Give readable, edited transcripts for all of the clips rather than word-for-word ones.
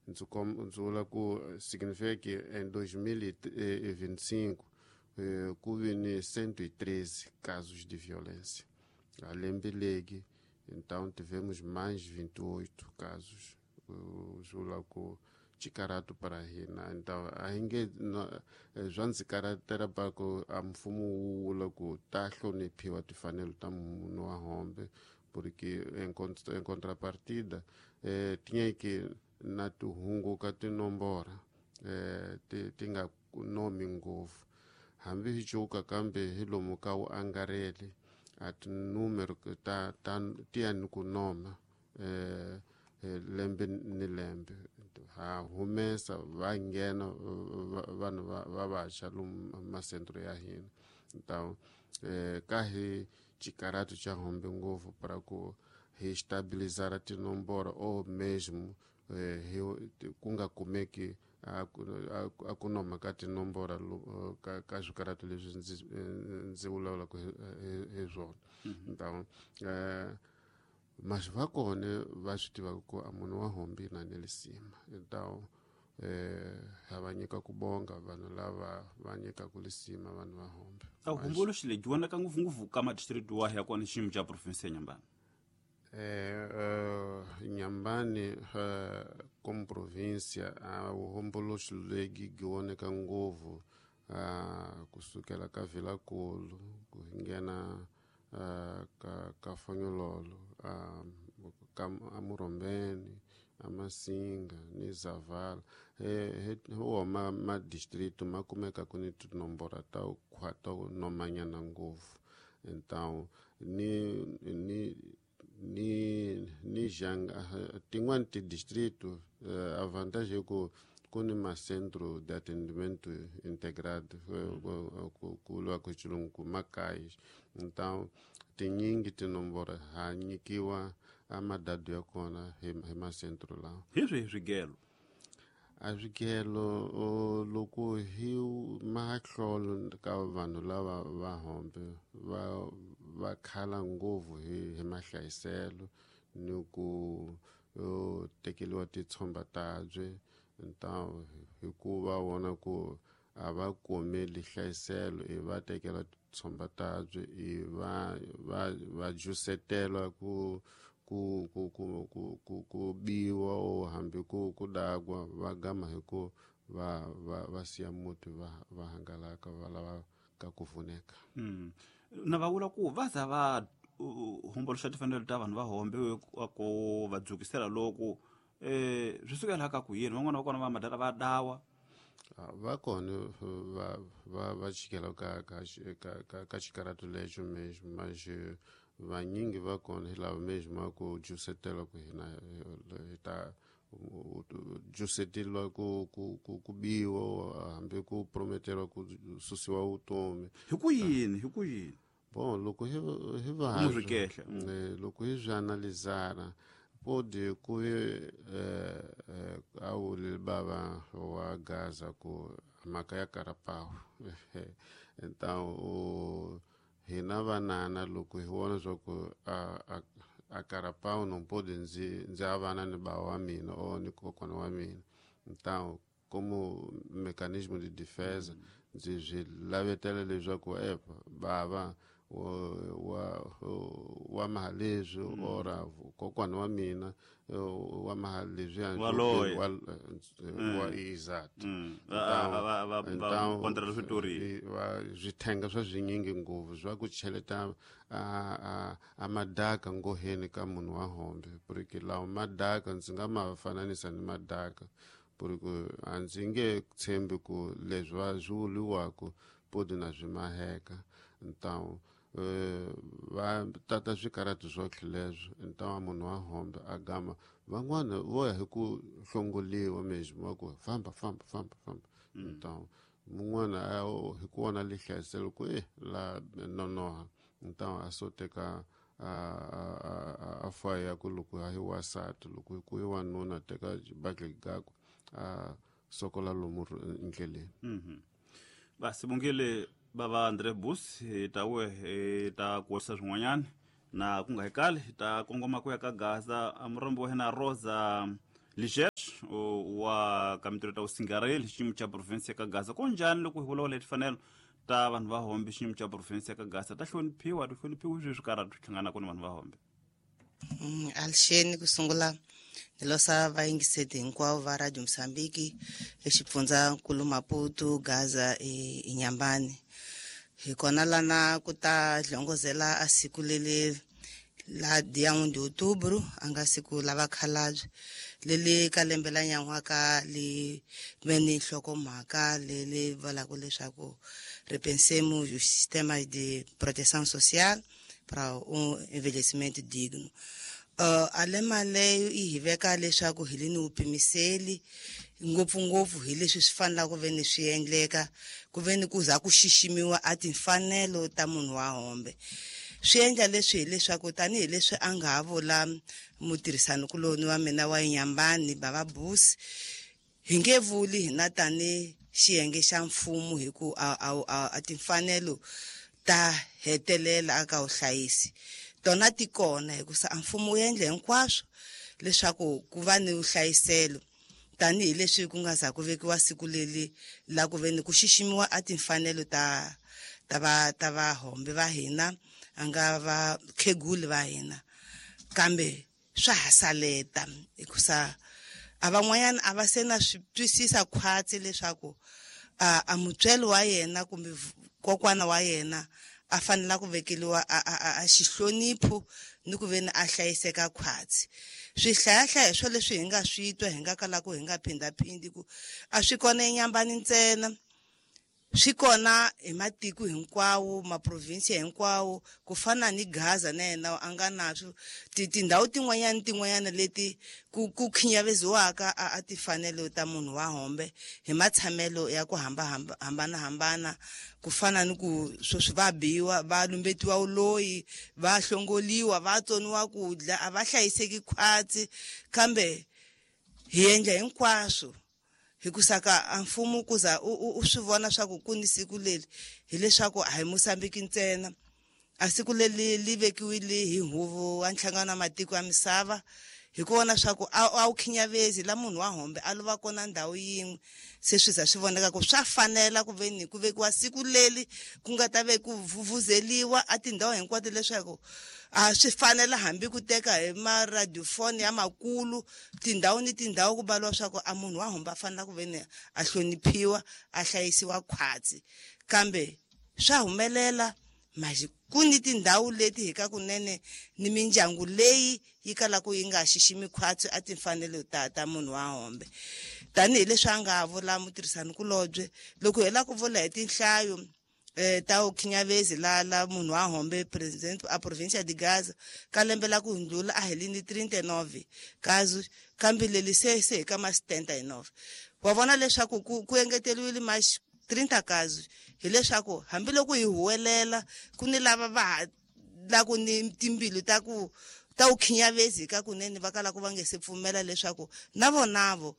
Ndzi ndzi vula ku significa que em 2025 ku vi ni 113 casos de violência. A lembe legi, então tivemos mais 28 casos. Swi ku xikarhatu para hina. Então a hi nge swa ndzi karhatela pa ku a mfumo wu vula ku ta hloniphiwa timfanelo ta munhu wa hombe, porque em contrapartida tinha que na ti hunguka tinombora ti nga nomi ngopfu hambi hi cuka, kambe hi lomu ka wu angarheli a tinumero ta ta ti ya ni ku noma lembe ni lembe. Ha humesa va nghena vanhu va vantshwa lomu masentro ya hina. Então ka hi xikarhatu xa hombe ngopfu para ku hi stabilizar tinomboro ou mesmo hi ku nga kumeki a ku noma ka tinomboro ka swikarhatu leswi ndzi vulavulaka hi swona. Então mas va kona va swi tivaka ku a munhu wa hombi na ni lisima. Então ha va nyika ku bonga vanhu lava va nyikaka lisima vanhu va hombe. A vuhomboloxi lebyi vonaka ngopfungopfu ka madistrikiti wahi ya kona xiyimo xa province ya Nyambani? Nyambani como província, a vuhomboloxi lebyi byi voneka ngopfu kusukela ka Vilankulu ku nghena ka Fonyololo, ka Amurhombeni, Amasinga ni Zavala. Hi wona madistrito ma kumeka ku ni tinomboro ta ta nomanyana ngopfu. Então ni janga tin'wani ti-distrito, a vantagem é ku ku ni ma-centro de atendimento integrado, ku vuriwa ku xilungu ku makaya. Então tinyingi tinomboro ha nyikiwa a madadu ya kona hi macentro lawa. Hi swihi swigelo? A swigelo loko hi mahlolo ka vanhu lava va hombe va khala ngopfu hi mahlayiselo ni ku tekeriwa titshomba tabye. Então hikuva vona ku a va kumeli hlayiselo, i va tekela titshomba tabye, i va jusetela ku biwa o hambi ku dakwa, va gama hi ku va siya muti va hangalaka va lava ka ku pfuneka. Na va vula ku va za va homboloxa timfanelo ta vanhu va hombe ku va dzukisela loko swi sukela ka ku yini van'wana va kona va madala va dawa? Va kona va chikela ka xikarhatu lexo mesmo, mas vanyingi va kona hi lava mesmo a ku jusetela ku hina hi ta juseteriwa ku biwa hambi ku prometeriwa ku susiwa vutomi. Hi ku yini? Hi ku yini? Bon, loko hi va loko hi swi analizara pode ku a wuli bava wa Gaza ku mhaka ya karapawu. Então hina vanana loko hi vona swa ku a karapawu não pode ndzi avana ni bava wa mina or ni kokwana wa mina, então como mecanismo de defesa ndzi swi lavetela leswaku epa bava wa maha leswi ora kokwana wa mina wa maha leswiya wa exato. Swithenga swa swinyingi ngopfu swa ku cheleta a madaka ngoheni ka munhu wa hombe, porque lawa madaka ndzi nga ma fananisa ni madaka, porque a ndzi nge tshembi ku leswi va swi vuriwaka podi na swi maheka. Então va tata swikarhatu swo leswo. Então munhu wa hombe a gama van'wana vo ya hi ku hlongoliwa mesmo va ku famba famba famba famba. Então mun'wana hi ku vona lihlayiselo ku la nonoha, então a so teka a faya ku loko hi wasati, loko ku hi wanuna teka xibakele gakwe a sokola lomu ndleleni. Basibongile bava Andre Bus, hi ta we hi ta kuwisa swin'wanyana na ku nga hi kali hi ta kongoma ku ya ka Gaza. Murombo wa hina Rosa Ligesh. Wa ka mintirho ta vusingareli xiyimo xa province ya ka Gaza. Ko njhani loko hi vulavula hi timfanelo ta vanhu va hombe xiyimo xa province ya ka Gaza, ta hloniphiwa ti hloniphiwi swi swi karhati swi hlanganaka ni vanhu va hombe? Alixeni ku sungula ni losa vayingiseti hinkwavo va Radio Mozambique exipfundzankulu Maputo, Gaza i Nyambani. Hi kona lana ku ta hlongozela a siku leli la dia 1 de outubro, a nga siku la vakhalabye leli ka lembe la nyan'waka li ve ni nhlokomhaka leli vulaka leswaku repensemos o sistema de proteção social para um envelhecimento digno. Alema leyo yi hi veka leswaku hi le ni wupimiseli ngopfungopfu hi leswi swi fanelaka ku ve ni swi endleka ku ve ni ku za ku xiximiwa a timfanelo ta munhu wa hombe. Swi endla leswi hileswaku tanihileswi a nga ha vula mutirhisanikuloni wa mina wa Nyambani Bava Busi, hi nge vuli hina tani xiyenge xa mfumo hi ku a timfanelo ta hetelela aka vuhlayisi tona ti kona, hikusa a mfumo wu endle hinkwaswo leswaku ku va ni vuhlayiselo tanihileswi ku nga za ku vekiwa siku leli la ku ve ni ku xiximiwa a timfanelo ta vahombe va hina, a nga va kheguli va hina. Kambe swa ha saleta hikusa a van'wanyana a va se na swi twisisa khwatsi leswaku a mutswari wa yena kumbe kokwana wa yena a fanela ku vekeliwa a xihlonipho ni ku ve ni a hlayiseka khwatsi. Swihlayahlaya swo leswi hi nga swi twa hi nga kalaka hi nga phindhaphindi ku a swi kona eNyambani ntsena, swi kona hi matiko hinkwawo, maprovinsi hinkwawo, ku fana ni Gaza na yena a nga na swo tindhawu tin'wanyana ni tin'wanyana leti ku khinyaveziwaka a timfanelo ta munhu wa hombe hi matshamelo ya ku hambanahambana, ku fana ni ku sweswi va biwa, va lumbetiwa vuloyi, va hlongoliwa, va tsoniwa ku dya, a va hlayiseki khwatsi. Kambe hi endla hinkwaswo hikusa ka a mfumo ku za u swi vona swa ku ku ni siku leri, hileswaku a hi Mozambique ntsena. A siku leri li vekiwile hi huvo wa nhlangano wa matiko ya misava hi ku vona swa ku a wu khinyavezi la munhu wa hombe a lova kona ndhawu yin'we, se swi za swi voneka ku swa fanela ku ve ni ku vekiwa siku leri ku nga ta ve ku vuvuzeliwa a tindhawu hinkwato leswaku a swi fanela hambi ku teka hi maradiofoni ya makulu tindhawu ni tindhawu ku baliwa swa ku a munhu wa hombe a fanela ku ve ni a hloniphiwa, a hlayisiwa khwatsi. Kambe swa humelela manje ku ni tindhawu leti hi ka kunene ni mindyangu leyi yi kalaka yi nga xiximi khwatsi a timfanelo ta munhu wa hombe. Tanihileswi a nga vula mutirhisanikulobye, loko hi lava ku vula hi tinhlayo ta vukhinyavezi la munhu wa hombe president a provincia de Gaza ka lembe la ku hundlula a hi li ni 39 kazi, kambe leli se hi ka ma 79. Wa vona leswaku ku engeteriwile ma 30 kazi, hileswaku hambiloko hi huwelela ku ni lava va ha la ku ni timbilu ta ku ta vukhinyavezi ka kunene va kalaka va nge se pfumela leswaku na vonavo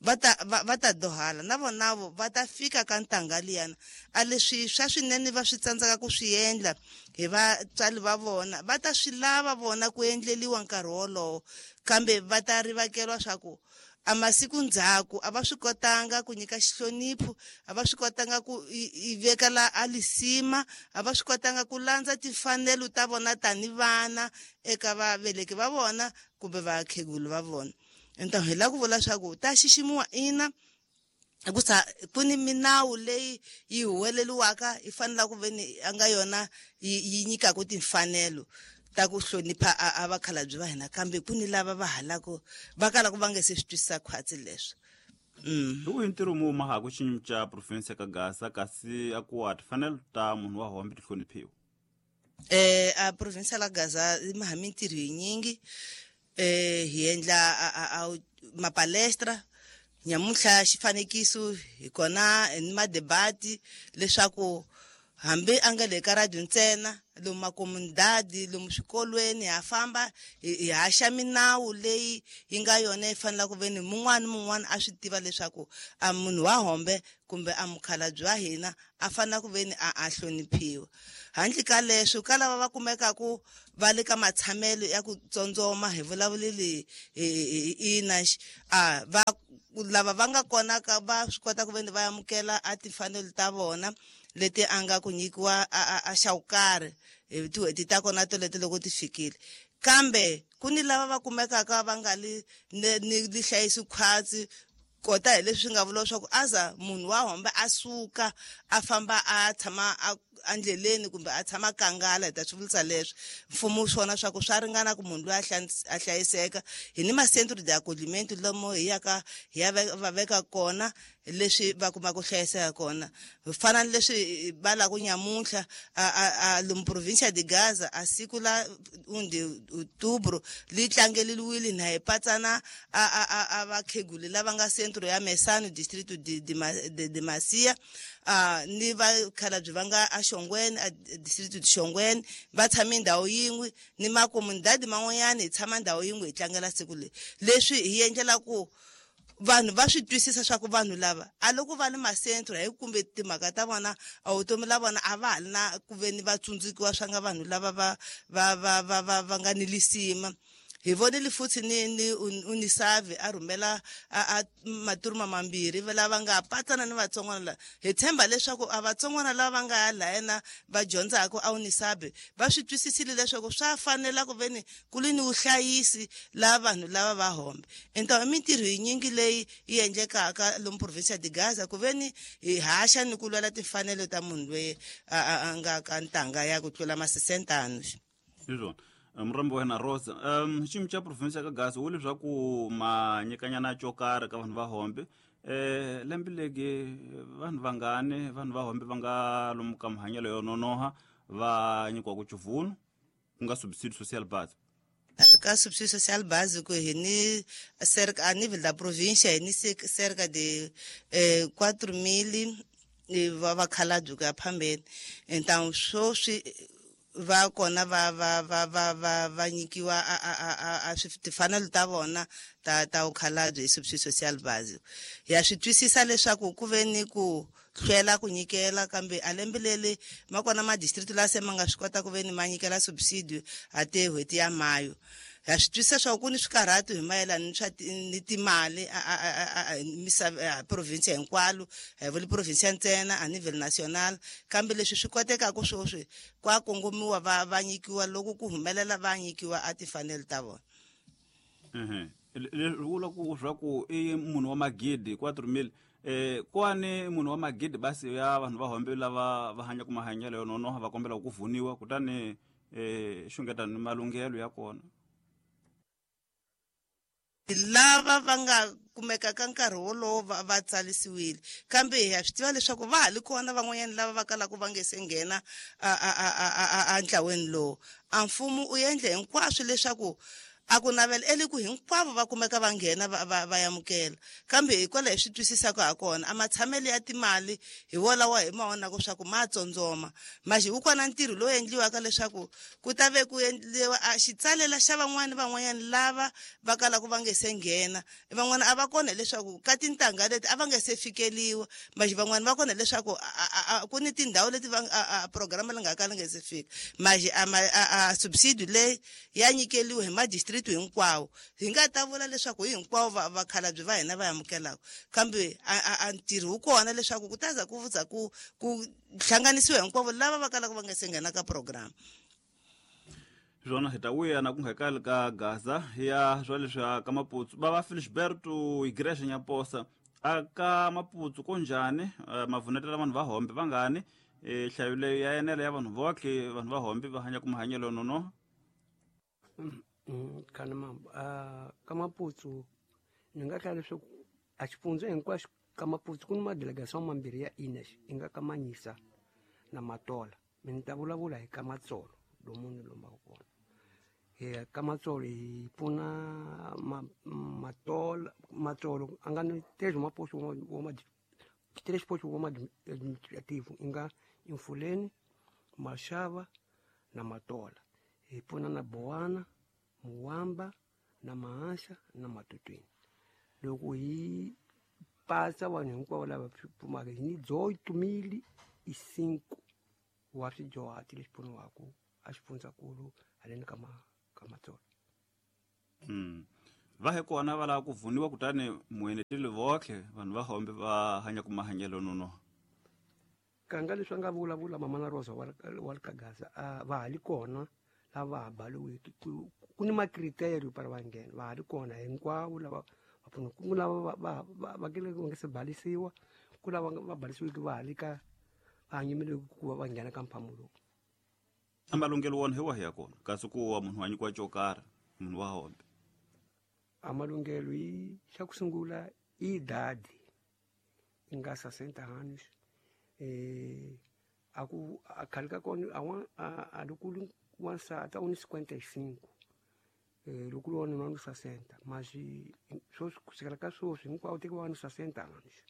va ta dohala, na vonavo va ta fika ka ntangha liyana. A leswi swa swinene va swi tsandzeka ku swi endla hi vatswari va vona, va ta swi lava vona ku endleliwa nkarhi wolowo, kambe va ta rivakeriwa swa ku a masiku ndzhaku a va swi kotanga ku nyika xihlonipho, a va swi kotanga ku i veka la a lisima, a va swi kotanga ku landza timfanelo ta vona tani vana eka vaveleki va vona kumbe vakhegulu va vona. Então hi lava ku vula swa ku ta xiximiwa ina, hikusa ku ni minawu leyi yi huweleliwaka yi fanelaka ku ve ni a nga yona yi nyikaka timfanelo ta ku hlonipha a vakhalabye va hina, kambe ku ni lava va halaka va kalaka va nge se swi twisisa khwatsi leswo. Hi wihi ntirho mu mahaka xiyimo xa province ya ka Gaza kasi a ku wa timfanelo ta munhu wa hombe ti hloniphiwa? A province la Gaza yi maha mintirho yinyingi. Hi endla a mapalestra nyamuntlha xifanekiso hi kona ni madebati leswaku hambi a nga le ka radio ntsena, lomu makomunidadi, lomu swikolweni ha famba hi haxa minawu leyi yi nga yona yi fanelaka ku ve ni mun'wana ni mun'wana a swi tiva leswaku a munhu wa hombe kumbe a mukhalabye wa hina a fanela ku ve ni a hloniphiwa. Handle ka leswo ka lava va kumekaku va le ka matshamelo ya ku tsondzoma, hi vulavuleli ina a va lava va nga kona ka va swi kota ku veni va amukela a timfanelo ta vona leti a nga ku nyikiwa a xa vukarhi hi tin'hweti ta kona toleto loko ti fikile. Kambe ku ni lava va kumekaka va nga li ni li hlayisi khwatsi kota hi leswi nga vula leswaku aza munhu wa hombe a suka a famba a tshama endleleni kumbe a tshama kangala, hi ta swi vulisa leswi mfumo swona swa ku swa ringana ku munhu loyi a hlayiseka. Hi ni ma-centre de accogliment lomu hi yaka hi ya va veka kona leswi va kuma ku hlayiseka kona. Fana ni leswi va la ku nyamuntlha a lomu provincia de Gaza a siku la 1 de outubro li tlangeliwile na hi patsana a vakheguli lava nga centro ya Mesano distrito de Macia, ni vakhalabye va nga a Xongweni a distrito de Xongweni va tshame ndhawu yin'we ni makomunidadi man'wanyana hi tshama ndhawu yin'we hi tlangela siku leri. Leswi hi endlela ku vanhu va swi twisisa swa ku vanhu lava a loko va le masentro hi kumbe timhaka ta vona a vutomi la vona a va ha ri na ku ve ni va tsundzukiwa swa nga vanhu lava va va va va va va nga ni lisima. Hi vonile futhi ni Unisavi a rhumela a maturuma mambirhi lava nga patsana ni vatsongwana lava. Hi tshemba leswaku a vatsongwana lava va nga ya lahena va dyondzaka a Unisavi va swi twisisile leswaku swa fanela ku ve ni ku li ni vuhlayisi la vanhu lava va hombe. Então i mintirho yinyingi leyi yi endlekaka lomu provincia de Gaza ku ve ni hi haxa ni ku lwela timfanelo ta munhu loyi a nga ka ntanga ya ku tlula ma 60 anos. Hi swona. Murhambi wa hina Rosa, xiyimo xa province ya ka Gaza wu leswaku ma nyikanyana xo karhi ka vanhu va hombe. Lembe legi vanhu vangani vanhu va hombe va nga lomu ka mahanyelo yo nonoha va nyikiwa ku chivunu ku nga subsidio social base. Ka subsidio social básico hi ni cerca a nível da província hi ni cerca de 4.000 va vakhalabye ku ya phambeni. Então sweswi va kona va va va va va va nyikiwa a timfanelo ta vona ta vukhalabye hi subsidio social básico. Ya swi twisisa leswaku ku ve ni ku hlwela ku nyikela kambe a lembe leri ma kona ma district la se ma nga swi kota ku ve ni ma nyikela subsidio a te n'hweti ya mayo. Ya swi twisisa swa ku ni swikarhatu hi mayelana ni swa ni timali a province hinkwalo, a hi vuli province ntsena a nível national, kambe leswi swi kotekaka sweswi kwa kongomiwa va nyikiwa loko ku humelela va nyikiwa a timfanelo ta vona. Leswi vula ku swa ku i munhu wa magidi 4.000 kwani munhu wa magidi basi ya vanhu va hombe lava va hanyaka mahanyelo yo nonoha va kombela ku vuniwa kutani xungeta ni malunghelo ya kona. Lava va nga kumeka ka nkarhi wolowo va tsalisiwile, kambe hi ya swi tiva leswaku va ha li kona van'wanyana lava va kalaka va nge se nghena a ntlaweni lowu. A mfumo u endle hinkwaswo leswaku a ku navela eli ku hinkwavo va kumeka va nghena va amukela, kambe hikwalaho hi swi twisisaka ha kona a matshamelo ya timali hi wolawa hi ma vonaka swa ku ma tsondzoma. Maxi wu kona ntirho lowu endliwaka leswaku ku ta ve ku endliwa a xitsalela xa van'wani van'wanyana lava va kalaka va nge se nghena. Van'wana a va kona leswaku ka tintangha leti a va nge se fikeliwa, maxi van'wani va kona leswaku ku ni tindhawu leti va a programa leyi nga kala nge se fika. Maxi a subsidio leyi ya nyikeliwa hi ma district hinkwawo. Hi nga ta vula leswaku hi hinkwavo vakhalabye va hina va amukelaka, kambe a ntirho wu kona leswaku ku ta za ku za ku hlanganisiwa hinkwavo lava va kalaka va nga se nghena ka program. Swona hi ta vuya na ku nga kali ka Gaza ya swa leswi ka Maputsu. Va va Felisberto Igreja Nyaposa a ka Maputsu ko njhani mavunetela vanhu va hombe vangani nhlayo leyi ya enela ya vanhu votlhe vanhu va hombe va hanya ku mahanyelo nonoha. Kana ka Maputsu ni nga hlaya leswaku a xifundza hinkwaxo ka Maputsu ku ni madelegation mambirhi ya INES i nga ka Manyisa na Matola. Mina ni ta vulavula hi ka Matsolo lomu ni lombaka kona. Hi ka Matsolo hi pfuna Matola, Matsolo a nga ni três maposto wa três postos wa administrativo i nga Infuleni, Maxava na Matola. Hi pfuna na Bowana, Muwamba na Mahansa na Matutwini. Loko hi pasa vanhu hinkwavo lava pfumaka hi ni 8.005 wa swidyuhati leswi pfuniwaka a xifundzankulu haleni ka Matsolo. Va he kona va lava ku vuniwa kutani mueneteli votlhe vanhu va hombe va hanya ku mahanyelo nonoha. Kanga leswi a nga vulavula mama na Rosa wa le ka Gaza, va ha li kona lava ha baliwiki. Ku ni makriterio para va nghena, va ha li kona hinkwavo lava va pfuna. Ku lava va va nga se balisiwa, ku lava va balisiwiki va ha li ka va hanyimile ku va va nghena ka mphamu lowu. A malunghelo wona hi wahi ya kona kasi ku wa munhu wa nyikiwa xo karhi munhu wa hombe? A malunghelo yi xa ku sungula i idade i nga 60 anos, a ku a khale ka kona a loko u wansati a wu ni 55, loko u ri wanuna u ni 60, mas sweswi kusukela ka sweswi hinkwavo tekiwa va ni 60 anos.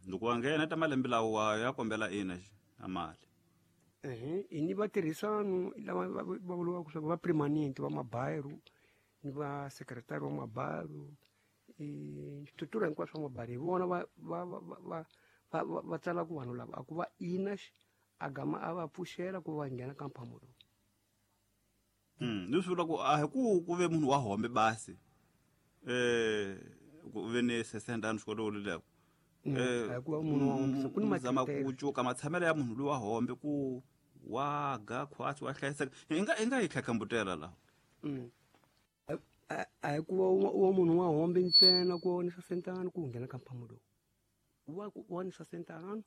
Loko wa nghena ta malembe lawa ya kombela ina a mali. I ni vatirhisano lava va vuriwaka swa ku va permanent va mabairo ni va secretary wa mabairo, switura hinkwaswo swa mabairo hi vona va tsalaka vanhu lava a ku va ina a gama a va pfuxela ku va nghena ka mphamu lowu. Leswi vula ku a hi ku ve munhu wa hombe basi, ku ve ni 60 anos xikolo luleko. A ku va munhu wa hombe ku ni zama ku cuka matshamelo ya munhu loyi wa hombe ku wa ga khwatsi wa hlayiseka. I nga yi tlhatlhambutela laha. A hi ku va wa munhu wa hombe ntsena ku wa ni 60 anos ku nghena ka mphamu lowu. Wa ku wa ni 60 anos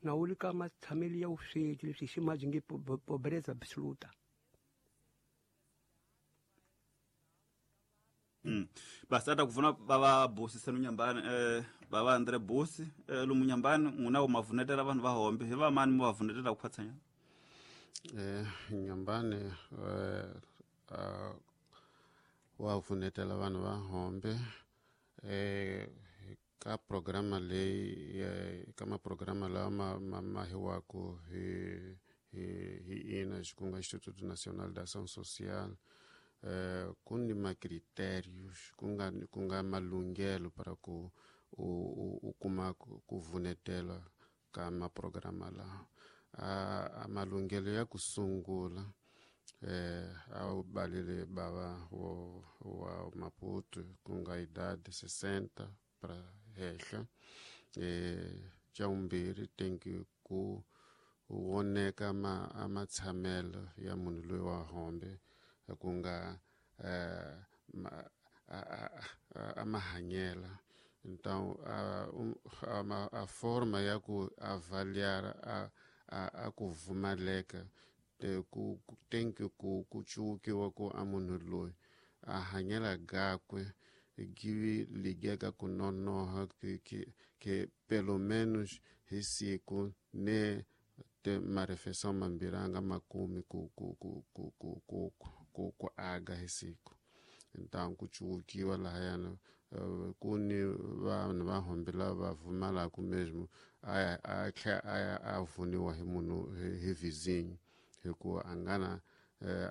na wu le ka matshamelo ya vusweti leswi hi ximaji nge pobreza absoluta. Basi ata kuvuna bava Busi senu Nyambani, bava Andre Busi, lomu Nyambani n'wina wu mavunetela vanhu va hombe hi va mani mu va vunetela ku khwatsanya? Nyambani wa vunetela vanhu va hombe ka programa leyi, ka maprograma lawa ma hiwaku hi ina ku nga Instituto Nacional de Ação Social, ku ni macritérios ku nga malunghelo para ku u kuma ku vunetela ka maprograma lawa. A malunghelo ya ku sungula, a wu balile bava wa Maputo ku nga idade 60 para henhla. Xa vumbirhi tenki ku voneka a matshamelo ya munhu loyi wa hombe ku nga a mahanyela. Então a forma ya ku avaliar a ku vumaleka ku tenki ku cukiwa ku a munhu loyi a hanyela gakwe give ligeka ku nonoha que pelo menos hi siku ne te marefeição mambirhi a nga makumi ku ku ku ku ku ku ku ku aga hi siku. Então ku cukiwa lahayana ku ni vanhu va hombe lava vumalaka mesmo a tlhela a vuniwa hi munhu hi vizinho hikuva a nga na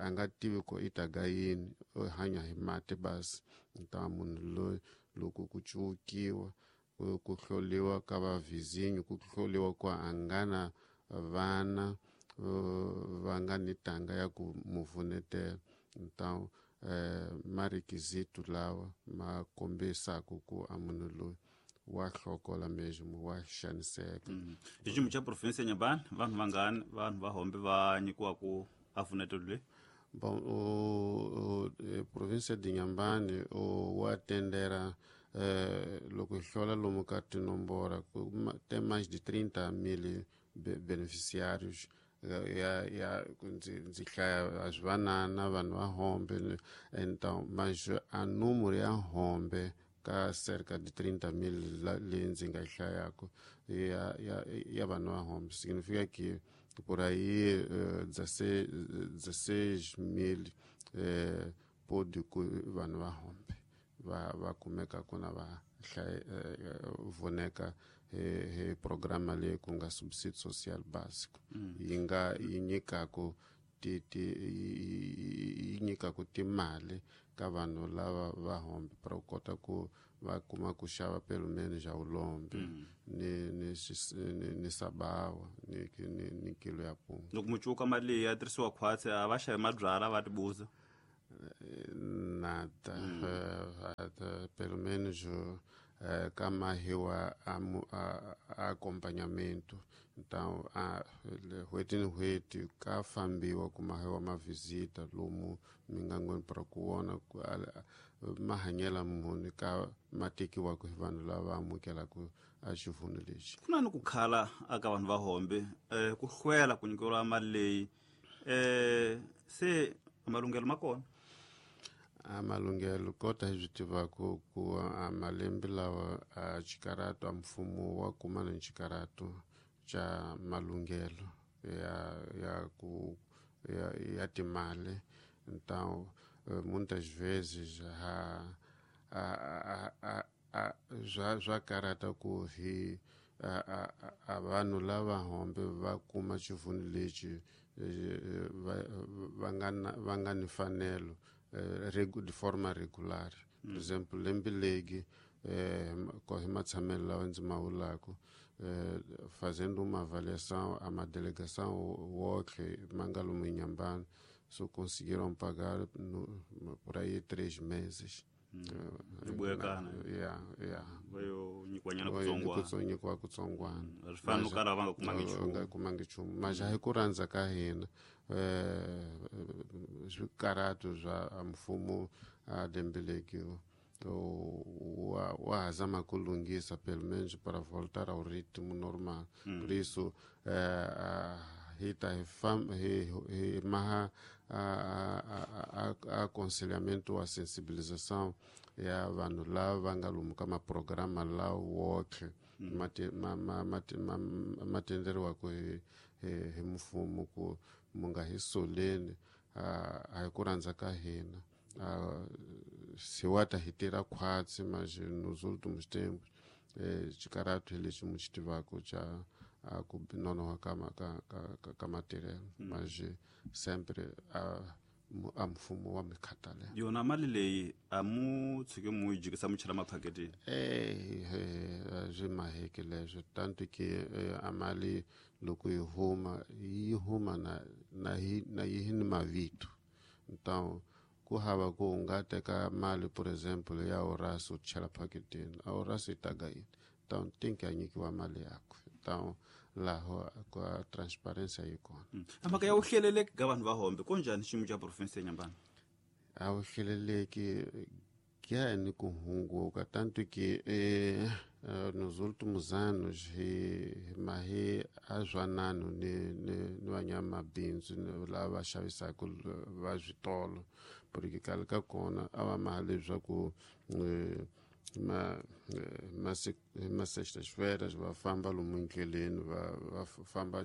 a nga tivi ku i ta ga yini, u hanya hi mati basi. Então munhu loyi loko ku cukiwa ku hloliwa ka va vizinho, ku hloliwa ku a nga na vana va nga ni tanga ya ku mu vunetela. Então marequisito lawa ma kombisaka ku a munhu loyi wa hlokola mesmo, wa xaniseka. Hi xiyimo xa province ya Nyambani vanhu vangani vanhu va hombe va nyikiwa ku a vunetelo leyi? Bom, o província de Inhambane wa tendera loko hi hlola lomu ka tinomboro tem mais de 30 mil beneficiários ya ndzi hlaya a swi vanana vanhu va hombe. Então mas a número ya hombe ka cerca de 30 mil leyi ndzi nga yi hlayaka ya vanhu va hombe significa que por aí 16 mil pode ku vanhu va hombe va kumeka ku na va voneka hi programa leyi ku nga subsídio social básico. Yi nga yi nyikaku yi nyikaku timali ka vanhu lava va hombe para ku kota ku va kuma ku xava pelo menos ya ulombe ni sabawa ni kilo ya punga. Loko mu cuka mali leyi ya tirhisiwa khwatsi a va xavi mabyalwa va tibuza. Nada. Pelo menos ka mahiwa a acompanhamento. Então, n'hweti ni n'hweti ka fambiwa ku mahiwa mavisita lomu mingangweni para ku vona ku mahanyelo muni ka ma tekiwaka hi vanhu lava amukelaka a xivunu lexi. Ku na ni ku khala aka vanhu va hombe ku hlwela ku nyikeriwa mali leyi se malunghelo ma kona. A malunghelo kota hi swi tivaka ku a malembe lawa a xikaratu a mfumo wa kuma ni xikaratu xa malunghelo ya ku ya timali. Então muitas vezes swa karata ku hi a vanhu lava hombe va kuma xivunu lexi va nga ni mfanelo de forma regular. Por exemplo, lembe legi hi matshamelo lawa ndzi ma vulaka fazendo uma avaliação a uma delegação wotlhe ma nga lomu Inhambane só conseguiram pagar por aí 3 meses. Va yo nyikiwanyana kutsongwana. Nyikiwa kutsongwana. Swi fana no kala va nga kumangi nchumu. Nga kumangi nchumu, mas hi ku rhandza ka hina swikaratu swa mfumo a lembe wa ha zama ku lunghisa pelo menos para voltar ao ritmo normal. Por isso hi ta hi maha aconselhamento, a sensibilização ya vanhu lava va nga lomu ka maprograma lawa wotlhe ma tenderiwaka hi mfumo ku mu nga hi soleni, a hi ku rhandza ka hina se wa ta hi tirha khwatsi, mas nos últimos tempos xikaratu hi lexi mu xi tivaka xa ku nonoha ka matirhelo, mas sempre a mfumo wa mi khathalela. Yona mali leyi a mu tshike mu yi jikisa mu chela maphaketini? Swi maheki leswo, tanto que a mali loko yi huma, yi huma na yi ni mavito. Então ku hava ku u nga teka mali, por exemplo, ya Horácio u chela phaketini, a Horácio yi taga yini? Então tem que a nyikiwa mali yakwe. Então laho ka transparência yi kona. A mhaka ya vuhleleleki ka vanhu va hombe ko njhani xiyimo xa province ya Nyambani? A vuhleleleki kuya ni ku hunguka, tanto que nos últimos anos hi mahi a zwanano ni vanyamabindzu lava xavisaka va switolo, porque khale ka kona a va maha leswaku ma sextas-feiras va famba lomu endleleni, va famba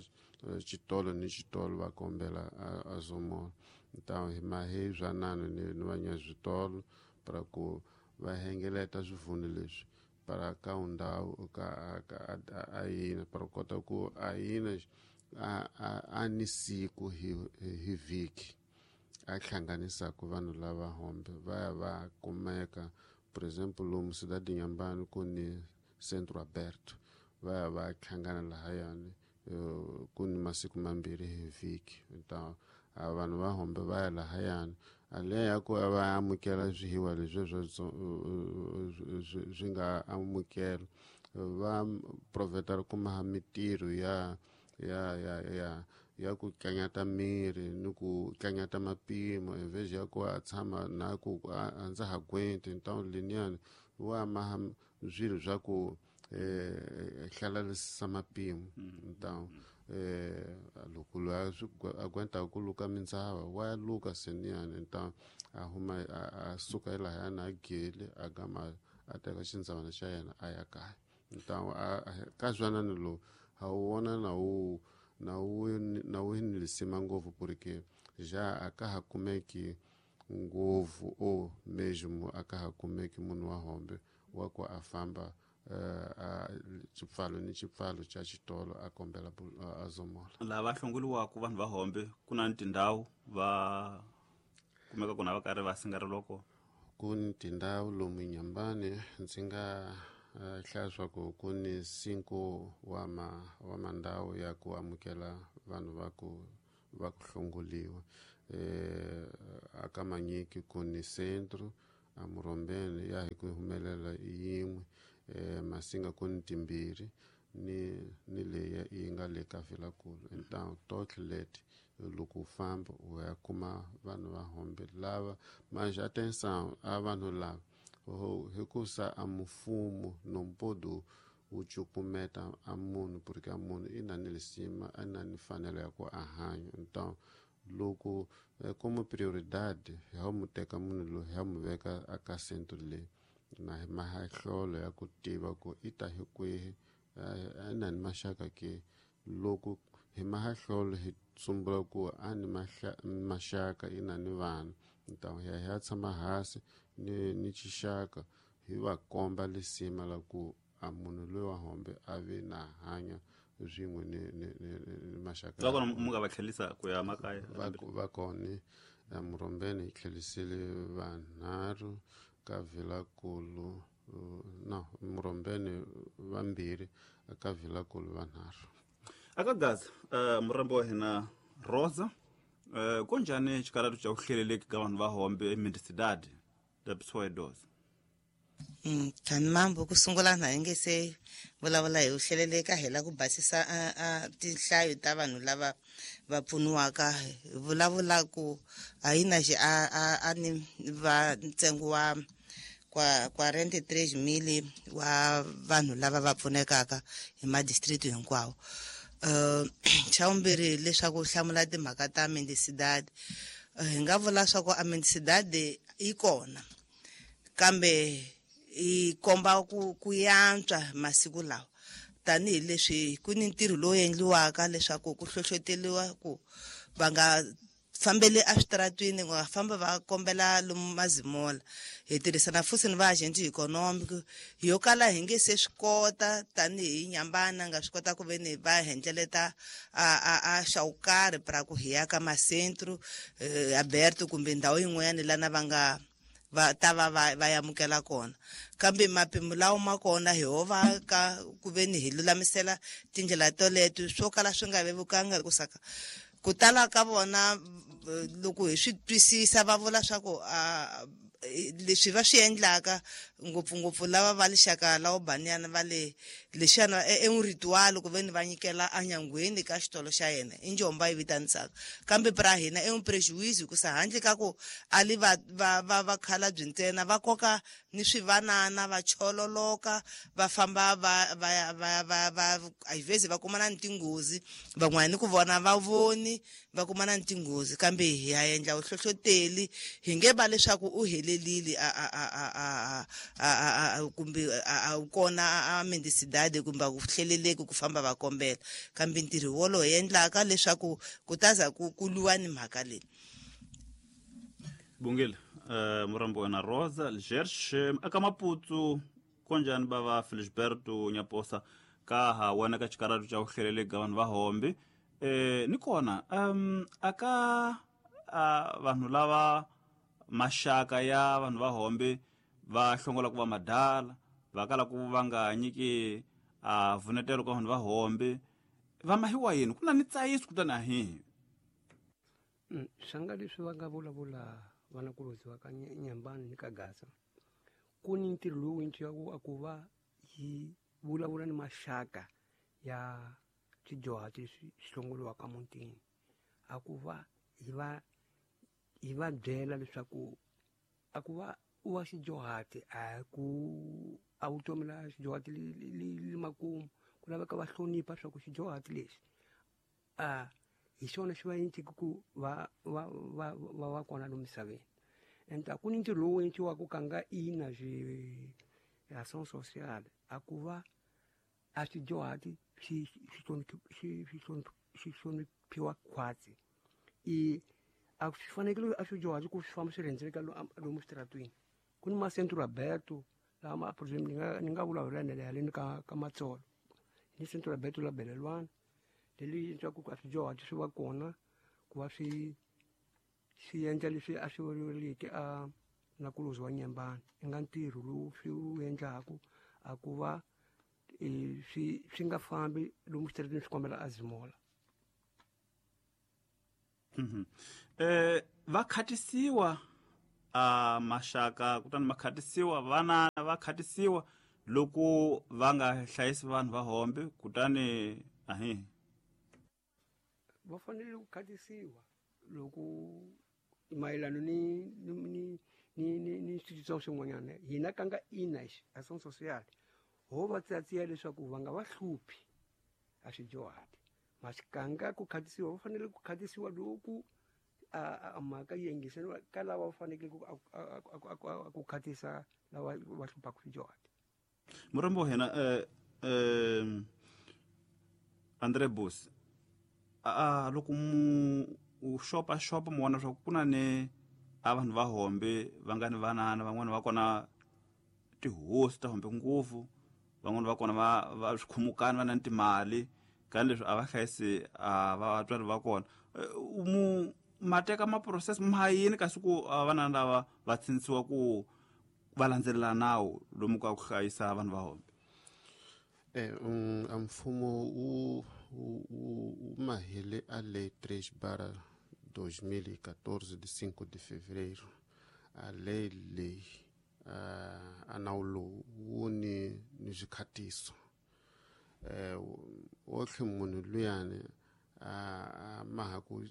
xitolo ni xitolo va kombela a zomola. Então hi mahi zwanano ni vanyaswitolo para ku va hengeleta swivunu leswi para ka ndhawu ka a yina para kota ku a yina a ni siku hi vhiki a hlanganisaka vanhu lava hombe va ya va kumeka. Por exemplo, lomu Cidade Inhambane ku ni Centro Aberto, va ya va hlangana lahayani, ku ni masiku mambirhi hi vhiki. Então a vanhu va hombe va ya lahayani aleya ya ku va amukela swihiwa leswi swi nga amukela, va proveta kuma mitirho ya ku tlanyata miri ni ku tlanyata mapimo envez ya ku a tshama na ku a ndza ha gwenti. Então leniyani wa maha swilo swa ku hlalarisisa mapimo. Então loko loyi a gwentaka ku luka mindzava wa luka seniyani, então a huma a suka elahayani a gele a gama a teka xindzavana xa yena a ya kaya. Então ka zwanani lowu ha wu vona na wu ni lisima ngopfu, porque já a ka ha kumeki ngopfu o mesmo a ka ha kumeki munhu wa hombe wa ku a famba xipfalo ni xipfalo xa xitolo a kombela a zomola. Lava hlongoliwaka vanhu va hombe ku na ni tindhawu va kumeka kona va karhi va singareliwa kona? Ku ni tindhawu lomu Inhambane, ndzi nga hlaya swa ku ku ni 5 wa mandhawu ya ku amukela vanhu va ku hlongoliwa. Aka Manyiki ku ni centro, a Murombeni ya hi ku humelela yin'we, Masinga ku ni timbirhi ni leyi yi nga le ka Vilakulu. Então tohle leti loko u famba u ya kuma vanhu va hombe lava. Mas atenção, a vanhu lava hikusa a mfumo não pode wu cukumeta a munhu, porque a munhu i na ni lisima, a na ni mfanelo ya ku a hanya. Então loko como prioridade hi ha mu teka munhu loyi, hi ha mu veka aka centro leyi na mahahlolo ya ku tiva ku i ta hi kwihi, a na ni maxaka ke. Loko hi mahahlolo hi tsumbula ku a ni maxaka, i na ni vana, então hi ya tshama hansi ni xixaka hi va komba lisima la ku a munhu loyi wa hombe a vi na hanya swin'we ni maxaka. Va kona mu nga va tlhelisa ku ya makaya? Va kona. Murombeni hi tlhelisile vanharhu, ka Vilakulu no Murombeni vambirhi, ka Vilakulu vanharhu. Aka Gaza, murambo wa hina Rosa, konjhani xikaratu xa ku hleleleki ka vanhu va hombe emendicidade da pessoa idosa? Tani mambo ku sungula na hi nge se vulavula hi ku hleleleka, hi la ku basisa a tinhlayo ta vanhu lava va pfuniwaka. Hi vulavula ku a yi na xi a ni va ntsengo wa kwa 43,000 wa vanhu lava va pfunekaka hi madistrict hinkwawo. Xa vumbirhi, leswaku hlamula timhaka ta mendicidade, hi nga vula swa ku a mendicidade yi kona, kambe yi komba ku yantswa masiku lawa, tanihileswi ku ni ntirho lowu endliwaka leswaku ku hlohloteriwa ku va nga fambeli eswitaratwini, va famba va kombela lomu mazimola. Hi tirhisana futhi ni va agent economic yo kala hi nge se swi kota tanihi Nyambana nga swi kota ku ve ni va hendleleta a xa wu karhi pra ku hi ya ka macentro aberto kumbe ndhawu yin'wanyana lana va nga va ta va amukela kona, kambe mapimo lawa ma kona hi ho va ka ku ve ni hi lulamisela tindlela toleto swo kala swi nga vevukanga ku saka ku tala ka vona. Loko hi swi twisisa, va vula swa ku leswi va swi endlaka ngopfungopfu lava va lixaka la banyana va le lexana e un ritual ku ve ni va nyikela enyangweni ka xitolo xa yena i njomba yi vitanisaka, kambe pra hina i un prejuízo ku sa handle ka ku ali va khalabye ntsena, va koka ni swivanana va chololoka va famba va às vezes va kumana ni tinghozi, van'wana ni ku vona va voni va kumana ni tinghozi. Kambe hi ya endla vuhlohloteli, hi nge va leswaku u helelile a kumbe a wu kona a mendicidade kumbe a ku hleleleki ku famba va kombela, kambe ntirho wolowo hi endlaka leswaku ku taza ku lwiwa ni mhaka leyi. Bungile, murambo wena Rosa Gersh, aka Maputo konjani bava Felisberto Nyaposa ka ha wena ka xikaratu xa ku hleleleka vanhu va hombe, ni kona aka vanhu lava maxaka ya vanhu va hombe va hlongola ku va madala va kala ku va nga nyiki a vunetelo ka vanhu va hombe va mahiwa yini ku na ni tsayiso kutani a hihi? Swanga leswi va nga vulavula vanakulobye va ka Nyambani ni ka Gaza, ku ni ntirho lowu endliwaka a ku va hi vulavula ni maxaka ya swidyuhati leswi swi hlongoliwaka mutini, a ku va hi va byela leswaku a ku va u wa xidyuhati a ku a vutomi la xidyuhati li makumu, ku laveka va hlonipha swa ku xidyuhati lexi a hi xona xi va endleke ku va kona lomu misaveni. And a ku ni ntirho lowu endliwaka ka nga ina action sociale a ku va a swidyuhati swi hloniphiwa khwatsi, i a swi fanekele a swidyuhati ku swi famba swi rhendzeleka lomu switaratwini. Ku ni macentro aberto lama, por exemplo, ni nga vulavula haleni ka Matsolo ni centro aberto la Belelwana leli endliwaka ku a swidyuhati swi va kona ku va swi endla leswi a swi vuliki a nakulozi wa Nyambani, i nga ntirho lowu swi wu endlaku a ku va swi nga fambi lomu xitaratini swi kombela a zimola. Va khatisiwa a maxaka, kutani ma khatisiwa vana, va khatisiwa loko va nga hlayisi vanhu va hombe, kutani ahi va fanele ku khatisiwa loko mayelana ni switsotso swin'wanyana. Hina ka nga INAS action social ho va tsatsiya leswaku va nga va hluphi a swidyuhati masikanga ku khatisiwa, va fanele ku khatisiwa loku a mhaka yi yingiseriwa ka lava va fanekele ku khatisa lava va hluphaka swidyuhati. Murhambi wa hina Andre Bus, a loko mu u xopaxopa mu vona swa ku na ni a vanhu va hombe va nga ni vanana, van'wani va kona tihosi ta hombe ngopfu, van'wani va kona va swikhumukani va na ni timali, ka leswi a va hlayisi a vatswari va kona, mu ma teka ma-process ma yini kasi ku vanana lava va tshintsiwa ku va landzelela nawu lomu ka ku hlayisa vanhu va hombe? A mfumo wu mahele a Lei 3/2014 de 5 de fevereiro. A lei leyi, a nawu lowu wu ni swikhatiso wotlhe munhu luyani a maha ku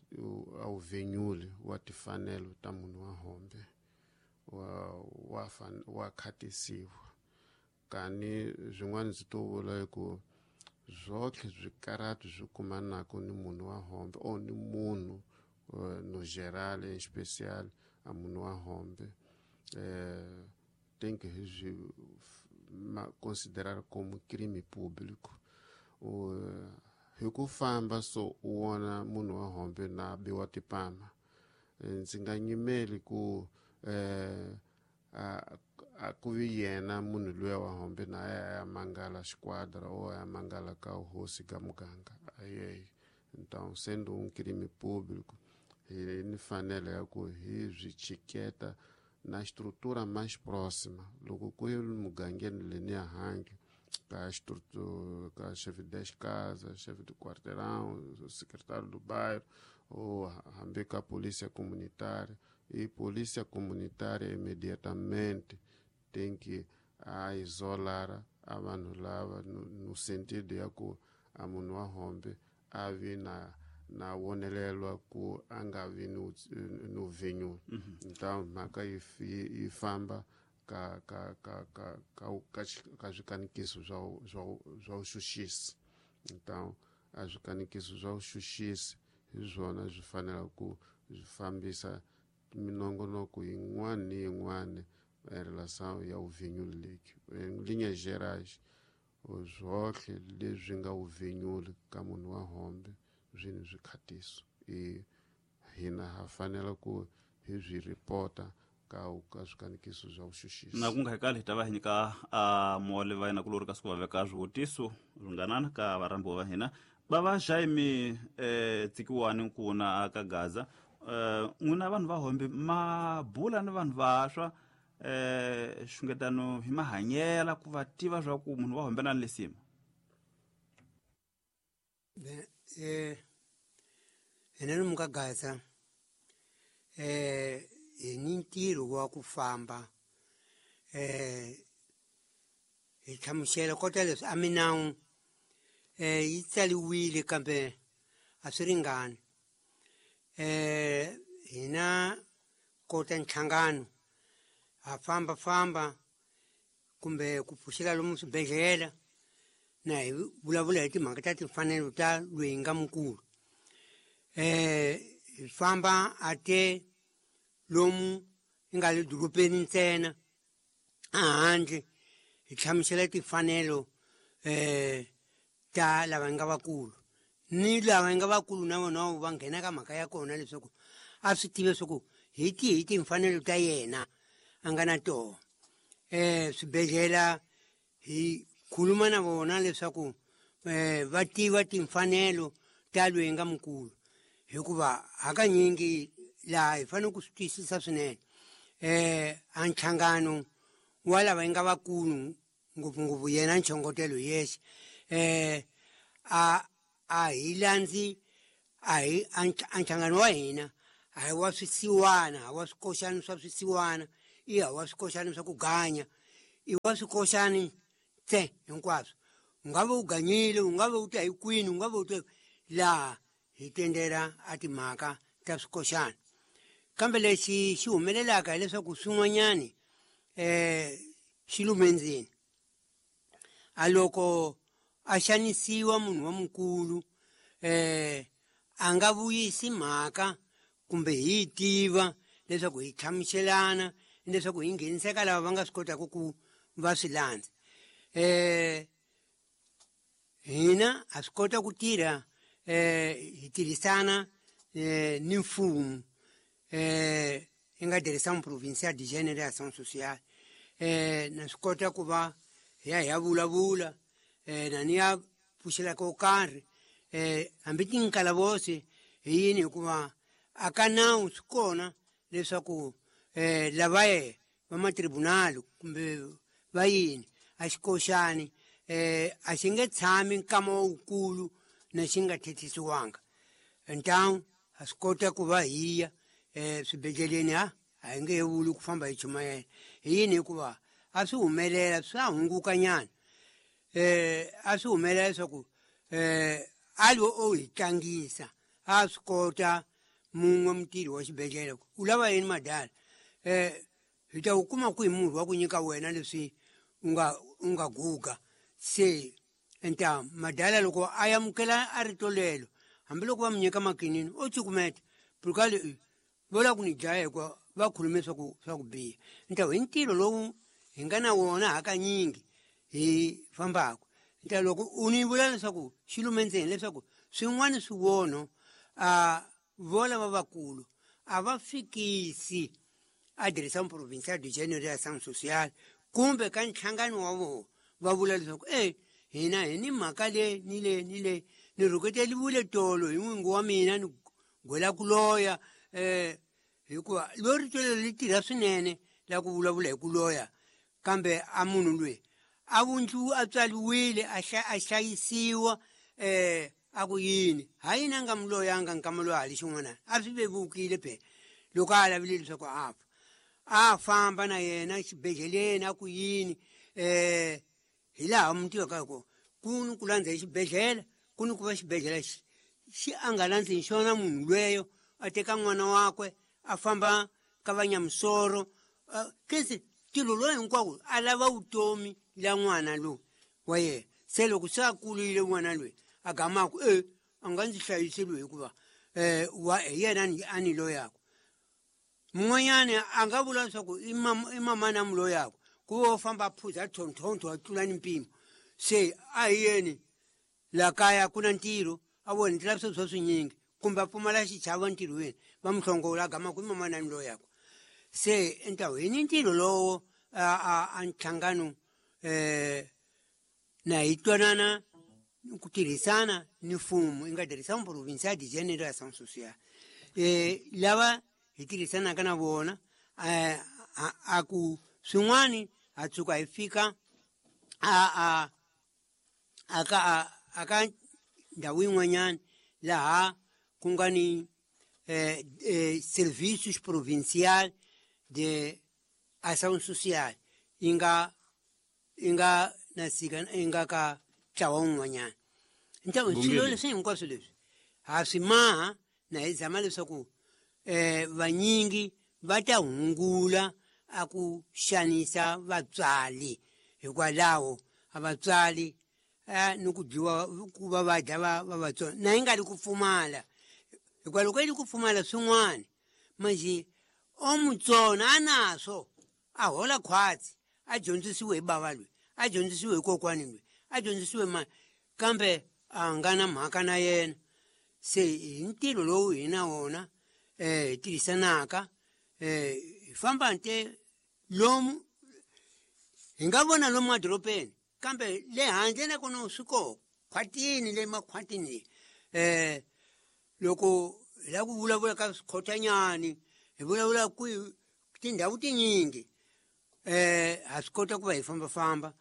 a wu venyuli wa timfanelo ta munhu wa hombe wa khatisiwa. Kani swin'wana ndzi to vula hi ku zwotlhe swikarati swi kumanaka ni munhu wa hombe o ni munhu no geral em especial a munhu wa hombe, tem que swi considerar como crime público. Hi ku famba so u vona munhu wa hombe na biwa tipama, ndzi nga nyimeli ku a ku vi yena munhu luya wa hombe na ya mangala xiquadra ou ya mangala ka hosi ka muganga ayeyi. Então, sendo um crime público, hi ni fanele ya ku hi swi chiketa na estrutura mais próxima. Loko ku ri mugangeni leniya hangi ka estrutura ka chefe de casa, chefe de quarteirão, secretário do bairro ou hambi ka polícia comunitária, e polícia comunitária imediatamente tem que a isolar a vanhu lava no sentido ya ku a munhu wa hombe a vi na vonelelwa ku a nga vi no venyula. Então mhaka yi famba ka ka ka ka ka ka ka swikanikiso swa vuxuxisi. Então a swikanikiso swa vuxuxisi hi swona swi fanela ku swi fambisa minongonoko yin'wana ni yin'wana em relação ya uvenyuli leki. Em linhas gerais, zwotlhe leswi nga uvenyuli ka munhu wa hombe swi ni swikhatiso, i hina ha fanela ku hi swi ripota ka swikanikiso swa vuxuxisi. Na ku nga hekali hi ta va hi nyika a mole va yena kulori kasi ku va veka swivutiso swinganana ka varhambiwa va hina va va Jaime tsikiwani nkuna ka Gaza. N'wina vanhu va hombe ma bula ni vanhu vaswa xungetano hi mahanyela ku va tiva swa ku munhu wa hombe na lesima? Hina lomu ka Gaza hi ni ntirho wa ku famba hi hlamusela kota leswi a minawu yi tsaliwile kambe a swi ringani. Hina kota nhlangano ha famba famba kumbe ku pfuxela lomu swibedhlele na hi vulavula hi timhaka ta timfanelo ta loyi nga mukulu. Hi famba a te lomu yi nga le dorobeni ntsena a handle hi hlamusela timfanelo ta lava nga vakulu ni lava nga vakulu na vona va nghena ka mhaka ya kona leswaku a swi tive leswaku hi tihi timfanelo ta yena a nga na tona. Swibedhlele hi khuluma na vona leswaku va tiva timfanelo ta loyi nga mukulu, hikuva hakanyingi laha hi fanele ku swi twisisa swinene. A nhlangano wa lava nga vakulu ngopfungopfu yena nchongotelo yexe a hi landzi A hi a nhlangano wa hina a hi wa swisiwana, a wa swikoxani swa swisiwana, i ha wa swikoxani swa ku ganya, i wa swikoxani tse hinkwaswo. U nga va u ganyile, u nga va u ta hi kwini, u nga va u ta laha, hi tendela a timhaka ta swikoxani. Kambe lexi xi humelelaka hileswaku swin'wanyani xi lume ndzeni. A loko a xanisiwa munhu wa mukulu, a nga vuyisi mhaka kumbe hi tiva leswaku hi hlamuselana, leswaku hi ngheniseka lava va nga swi kotaka ku va swi landza. Hina ha swi kota ku tirha, hi tirhisana ni mfumo, hi nga Direção Provincial de Gênero e Ação Social. Na swi kota ku va hi ya hi ya vulavula, na ni ya pfuxela ko karhi, hambi tinkalavose hi yini, hikuva a ka nawu swi kona leswaku lava ye va matribunal kumbe va yini a xikoxani, a xi nge tshami nkama wukulu na xi nga thethisiwanga. Ntawu ha swi kota ku va hi ya swibedhleleni, a hi nge he vuli ku famba hi chumayela hi yini, hikuva a swi humelela swa hunguka nyana. A swi humelela leswaku a lo o hi tlangisa, a swi kota mun'we mutirhi wa xibedhlele u lava yini madala, hi ta wu kuma kwihi murhi wa ku nyika wena leswi u nga guga. Se enta madala loko a amukela a rito lelo, hambiloko va mu nyika makinini o cukumeta purukale vo lava ku ni dlaya hikuva va khulume swa ku biha. Nta hi ntirho lowu hi nga na wona hakanyingi hi fambaka. Nta loko u ni vula leswaku xi lume ndzeni, leswaku swin'wana swivono a vo lava vakulu a va fikisi a Direção Provincial de Gênero e Ação Social kumbe ka nhlangano wa vona, va vula leswaku hina hi ni mhaka le ni le ni le, ni rhuketeliwile tolo hi n'wingi wa mina, ni gwela ku loya. Hikuva lo rito lero li tirha swinene la ku vulavula hi ku loya, kambe a munhu loyi a vundlu a tswariwile a hlayisiwa, a ku yini ha yini a nga mu loyanga nkama loyi a li xin'wana, a swi vevukile phela loko a lavile leswaku a fa, a famba na yena xibedhleleni a ku yini. Hi laha mu tivaka hi kona ku ni ku landza hi xibedhlele, ku ni ku va xibedhlele xi a nga landzi hi xona munhu lweyo, a teka n'wana wakwe a famba ka vanyamusoro, kese tilo loyi hinkwawo a lava vutomi la n'wana lowu wa yena. Se loko se a kurile n'wana loyi a gamaku a nga ndzi hlayisi loyi hikuva hi yena a ni loyaka. Mun'wanyani a nga vula leswaku i mamana mu loyaka, ku va u famba a phuza thonthonto a tlula ni mpimo. Se a hi yeni la kaya ku na ntirho, a vona ndzi lavisa swa swinyingi kumbe a pfumala xichavo ntirhweni, va mu hlongola a gama ku i mamana ni loyaka. Se ntawu hi ni ntirho lowo a nhlangano, na hi twanana ku tirhisana ni mfumo, i nga Direção Provincial de Gênero e Ação Social. Lava hi tirhisanaka na vona, a ku swin'wani ha tshuka hi fika a ka ndhawu yin'wanyana laha ku nga ni Serviços Provincial de Ação Social, yi nga na sika yi nga ka ntlawa wun'wanyana. Ntawu swilo leswi hinkwaswo leswi ha swi maha na hi zama leswaku vanyingi va ta hungula a ku xanisa vatswari, hikwalaho a vatswari ni ku dyiwa ku va va dya va vatsongo na yi nga ri ku pfumala, hikuva loko yi ri ku pfumala swin'wana manje o mutsona a naswo a hola khwatsi, a dyondzisiwe hi bava loyi, a dyondzisiwe hi kokwani loyi, a dyondzisiwe mani, kambe a nga na mhaka na yena. Se hi ntirho lowu hi na wona hi tirhisanaka, hi famba nte lomu hi nga vona lomu madorobeni, kambe le handle nakona swi kona khwatini, le makhwatini leyi. Loko hi lava ku vulavula ka swikhotanyani, hi vulavula kwihi tindhawu tinyingi, ha swi kota ku va hi fambafamba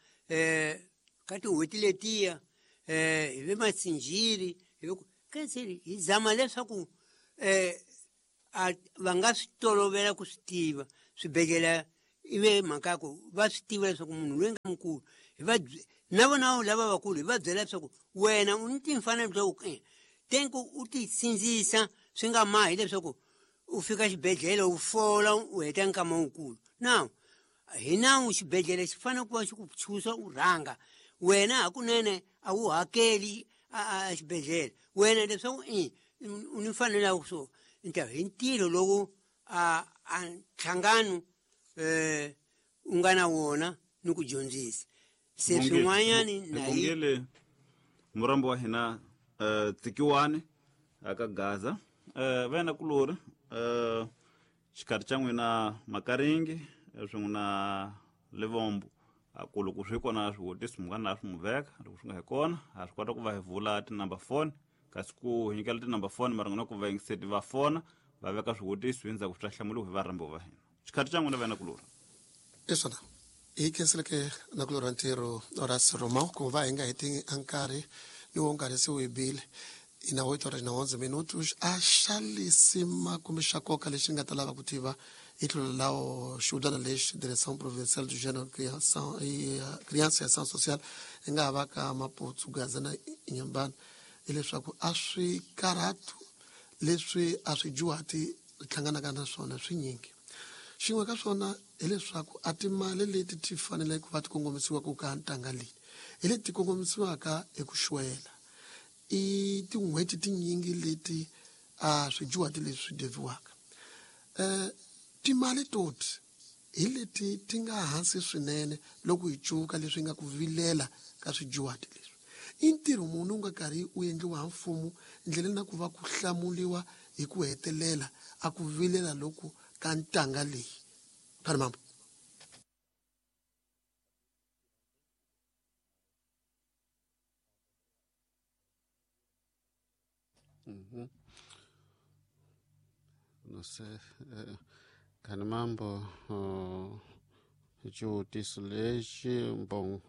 ka tin'hweti letiya, hi ve masinjiri, hi ve Quer hi zama leswaku va nga swi tolovela ku swi tiva swibedhlele ivi mhaka ya ku va swi tiva leswaku munhu loyi nga mukulu hi va na vona lava vakulu hi va byela leswaku wena u ni timfanelo ta ku tenku u ti sindzisa swi nga mahi leswaku u fika xibedhlele u fola u heta nkama wukulu. Now hi nawu xibedhlele xi fanele ku va xi ku chusa u rhanga wena hakunene a wu hakeli a xibedhlele wena leswaku u ni mfanelo ya so hi ntirho lowu a nhlangano u nga na wona ni ku dyondzisa se swin'wanyani na murambo wa hina Tsikiwani aka Gaza va yena kulori xikarhi xa n'wina Makaringi swin'we na Livombo ku loko swi kona swivutiso mi nga na swi mu veka loko swi nga hi kona ha swi kota ku va hi vula tinumber phone kasi ku hi nyikela tinumber phone mara n'wina ku va yingiseti va fona va veka swivutiso endzhaku swi ta hlamuriwa hi varhambi va hina. Xikarhi xa n'wina va yena kulori i swona hi khenseleke na ku lorha ntirho ra Romão ku va hi nga heti nkarhi ni wo nkarhi se wu hi bile i na 8 horas na 11 minutos. A xa lisima kumbe xa nkoka lexi nga ta lava ku tiva hi tlhelo lawo xihudyana lexi Direção Provincial do Gênero, Criança e Ação Social yi nga ha va ka Maputo, Gaza na Inhambane hileswaku a swi karhatu leswi a swi juhati hlanganaka na swona swinyingi. Xin'we ka swona hileswaku a timali leti ti fanele ku va ti kongomisiwa ku ka ntanga leyi hi leti kongomisiwaka hi ku xwela i tin'hweti tinyingi leti a swijuhati leswi swi deviwaka timali toti hi leti ti nga hansi swinene loko hi cuka leswi nga ku vilela ka swijuhati leswi i ntirho munhu u nga karhi u endliwa ha mfumo ndleleni na ku va ku hlamuliwa hi ku hetelela a ku vilela loku ka ntanga leyi phani mambo. Não sei, khani mambo xivutiso lexi bon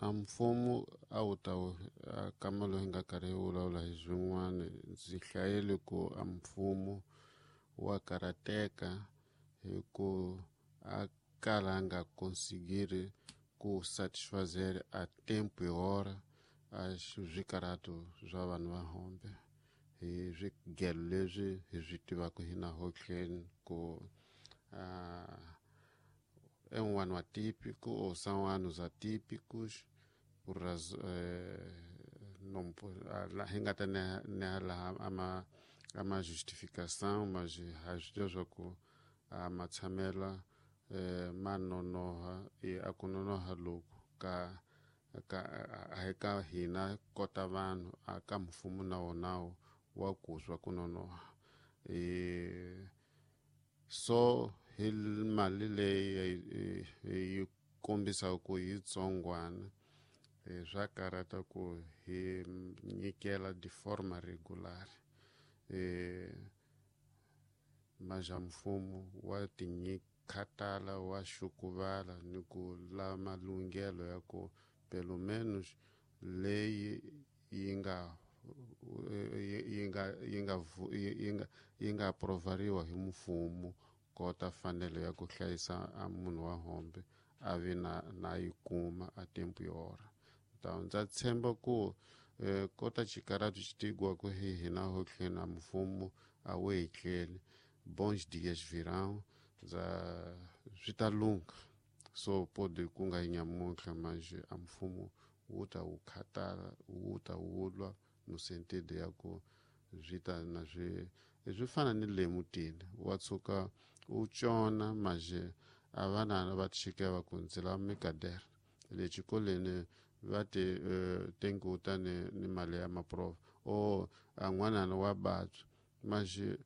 a mfumo a wu ta kama loyi nga karhi hi vulavula hi swin'wana ndzi hlayele ku a mfumo wa karateka hi ku a kala a nga conseguir ku satisfazer a tempo e hora a swikarhato swa vanhu va hombe hi swigelo leswi hi swi tivaka hina hotleni ku é um ano atípico ou são anos atípicos por não hi nga ta neha laha ama justificação mas ha swi tiva swa ku a matshamela ma nonoha a ku nonoha loku ka a hi ka hina kota vanhu a ka mfumo na wona wa ku swa ku nonoha so hi mali leyi yi kombisaka ku yi tsongwana swa karhata ku hi nyikela de forma regular maja mfumo wa tinyikhatala wa xukuvala ni ku lava malunghelo ya ku pelo menos leyi yi nga aprovariwa hi mfumo kota fanelo ya ku hlayisa a munhu wa hombe a vi na yi kuma a tempo e hora. Então ndza tshemba ku kota xikarhatu xi tiviwa ku hi hina hotleni a mfumo a wu hi tleli bons dias virão ndza swi ta lungha so pode ku nga yi nyamuntlha mas a mfumo wu ta wu khatala wu ta wu lwa no sentido ya ku swi ta na swi fana ni le mutini wa tshuka u cona maje a vana va tshikeva ku ndzi lava mikadere le xikolweni va ti tenguta ni mali ya maprova o a n'wanana wa babya maje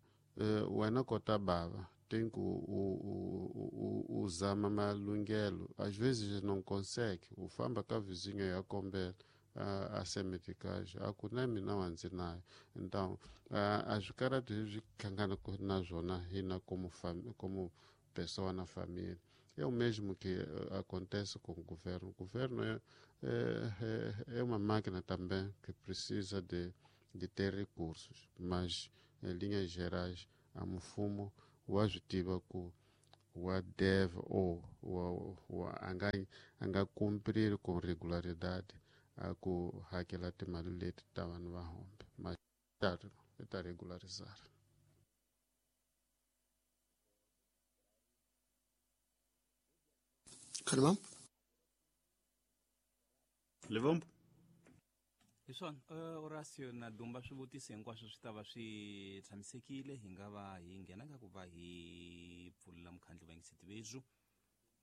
wena kota bava tem que u zama malunghelo às vezes não consegue u famba ka vizinho ya kombela a semetikage a ku na mina wa ndzi nayo então a swikarhatu hi swi hlanganaka na swona hina como pessoa na família É o mesmo que acontece com o governo. O governo é uma máquina também que precisa de ter recursos, mas em linhas gerais, a Mufumo wazitiva ku wa deve ou anga cumprir com regularidade a ku hakela timali leti ta vanhu va hombe, mas ta regularizar. Kalmam? Livombo? Hi swona, Horacio na Dumba, swivutiso hinkwaswo swi ta va swi tshamisekile. Hi nga va hi nghena ka ku va hi pfulela mukhandlu va yingiseti vethu.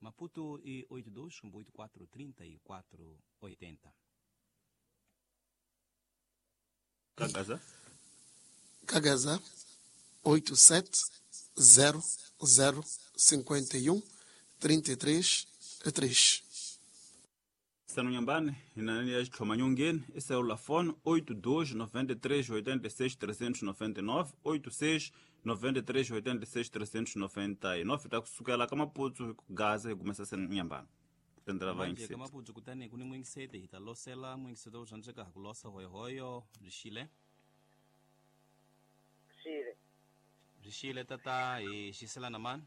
Maputo i 82 84 34 80. Kagaza? Kagaza 87 00 51 33 3. Sanu Nyambani, inani ya xitlhomanyongeni i selulafoni 82 93 86 399 86 93 86 399 ta kusukela ka Maputsu hi ku Gaza hi kumesa Sanu Nyambani. Tendela va Manje yingiseti. ka Maputsu kutani ku ni n'wingiseti hi ta losela n'wingiseti wo swantsweka ha ku losa hoyohoyo byi xile. Xile. Byi xile tata, hi xiselana mani?